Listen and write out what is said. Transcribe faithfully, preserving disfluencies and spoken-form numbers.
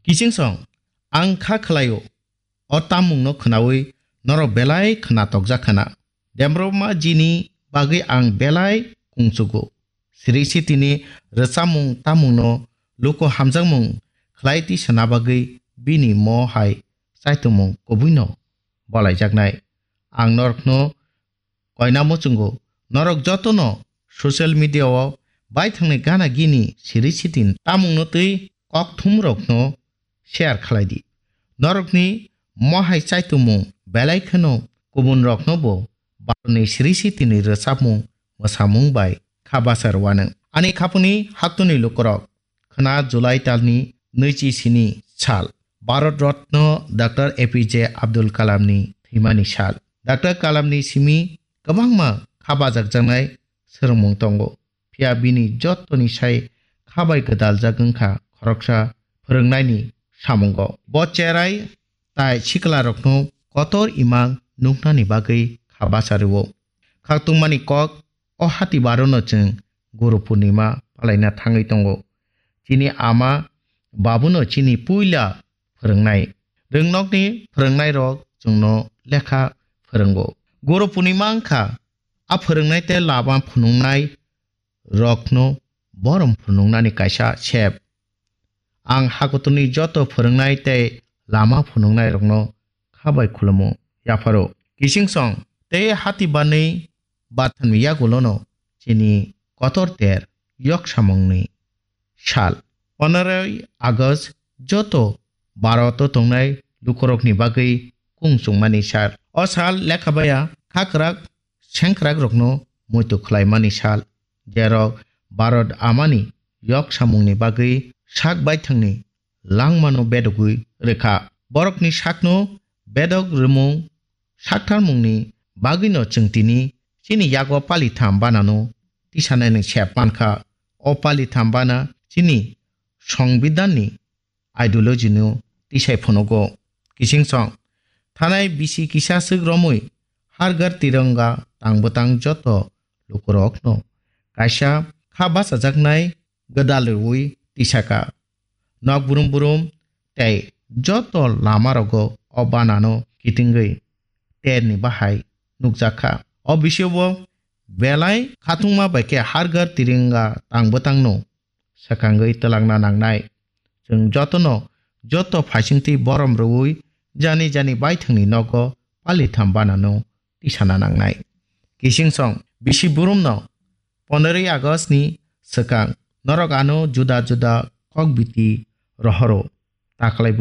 Kiching song, ang kha khlaio, o tamungno khnaui norok belai khna tokjak khana. Dembroba jini bagwi ang belai kungchugo. Sri Sitini rwchapmung tamungno luku hamjakmung khlai tisana bagwi bini mo hai chaitumung kubuino bolaijaknai. Ang norokno koina muchungo, norok jotono social media o baithangni gana gini Sri Sitin tamungno twi kokthumrokno share khlai di. Norokni mohai chaitumung belai kheno kubun rokno bo Bharotni Sri Sitini rwchapmung mwsamung bai kha basa rwano. Ani khapuni haktuni lukurok, khna July talni nwichi sini sal, Bharat Ratna Doctor A P J Abdul Kalamni thwimani sal. Doctor Kalamni simi kwbangma kha bajakjaknai swrwngmung tongo. Phiya bini jottoni sai kha bai gwdaljak wngkha khoroksa phwrwngnaini samungo. Bo cherai tai siklarokno kotor imang nuknani bagwi kha basa rwo. Khaktungmani kok, o hati barono chwng Guru Purnima palaina thangwi tongo. Chini ama babuno chini puila phwrwngnai. Rwngnokni phwrwngnairok chwngno lekha phwrwngo. Guru Purnima wngkha a phwrwngnai tei lama phunuknai rokno borom phunuknani kaisa sep. Ang hakutorni joto phwrwngnai tei lama phunuknairokno kha bai khulumu, yapharo. Kiching song tei hati banwi bathanni yagulono chini kotor ter yok samungni sal. Pondoroi August joto Bharoto tongnai lukurokni bagwi kung chungmani sal. O sal lekha baya khakrak sengkrakrokno muitu khlaimani sal, jerok Bharot amani yok samungni bagwi sak baithangni langmano bedogwi rwkha. Borokni sakno bedok rwmung saktharmungni bagwino chwng tini chini yago palitham banano tisanani sep mankha. O palitham bana chini Songbidanni ideology no tisai phunugo. Kiching song, thanai bisi kisa swk romwi Har Ghar Tiranga tang bwtang joto lukurokno kaisa kha bachajaknai gwdal rwui tisaka. Nok brum brum tei joto lamarogo o banano kitingwi terni bahai nukjakha. O bisingo belai khatungma bai khe Har Ghar Tiranga tang bwtangno swkangwi twlangna nangnai. Chwng jotono joto phaisingtwi borom rwui jani jani baithangni nogo palitham banano tisana nangnai. Kiching song bisi burumno pondoroi August ni swkang norok ano juda juda kok biti rohoro taklaibo.